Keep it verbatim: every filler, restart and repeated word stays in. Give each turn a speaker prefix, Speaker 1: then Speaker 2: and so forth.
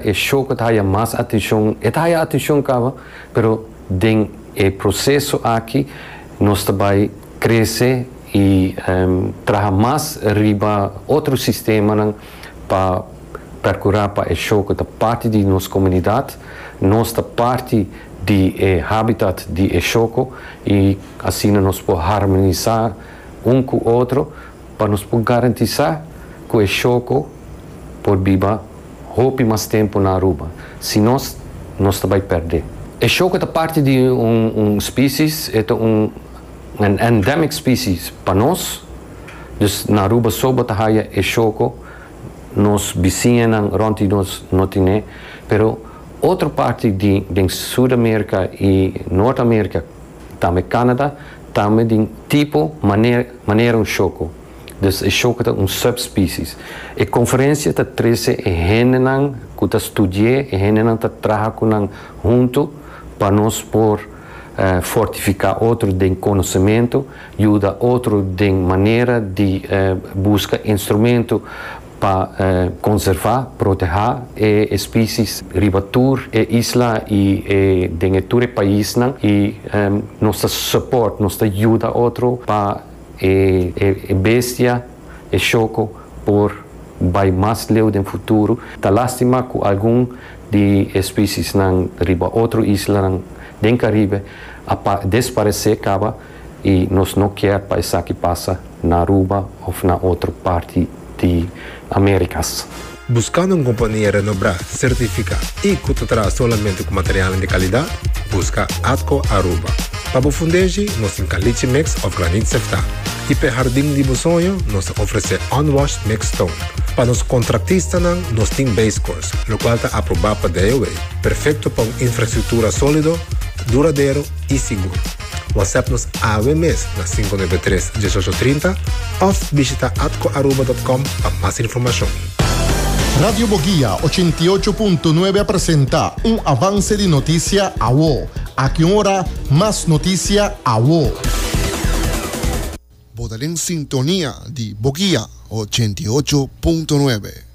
Speaker 1: E shoco ta haya mas atencion, e ta haya atencion caba, pero den e proceso aki nos ta bay crece y um, traha mas riba otro sistema pa percura pa e shoco ta parti di nos comunidad, nos ta parti di eh, habitat di e shoco y asina nos por harmonisa un cu otro pa nos por garantisa cu e shoco por biba hopi mas tempo na Aruba. Si nos, nos ta bay perde. E shoco ta parti di un, un species, e un, un endemic species pa nos. Dus na Aruba so bo ta haya e shoco, nos bisiñanan rond di nos no tin, pero otro parti di, di Sudamerica y Norteamerica, tambe Canada, tambe di tipo manera, manera un shoco. Dus e shoco ta un subspecies. E conferencia ta trece e hendenan cu ta studia, e hendenan ta traha cu nan hunto pa nos por uh, fortifica otro den conocimento, yuda otro den manera di uh, busca instrumento pa uh, conserva, proteha e especies riba tur e isla y e, den tur pais y um, nos support, nos yuda otro pa e, e, e bestia, e shoco por bay mas leu den futuro. Ta lastima cu algun di especies nan riba otro isla nan den Caribe a desparece caba y nos no kier pa esaki pasa na Aruba of na otro parti di Americas.
Speaker 2: Buscando un compania renombra, certifica y cu ta traha solamente cu material di calidad? Busca Atco Aruba. Pa fundeshi, nos tin caliche mix of graniet sefta. Y pa hardin di soño, nos ta ofrece unwashed mixed stone. Pa nos contratistanan, nos tin base course, locual ta aproba pa D O E. Perfecto pa un infrastructura solido, duradero y sigur. WhatsApp nos awe mes na cinco nuebe tres uno ocho tres cero of bishita atcoaruba punto com pa mas informacion.
Speaker 3: Radio Boguia ochenta y ocho punto nuebe presenta un avance di noticia awo. Aki un ora, mas noticia awo.
Speaker 4: Bo ta den sintonia di Boguia ochenta y ocho punto nuebe.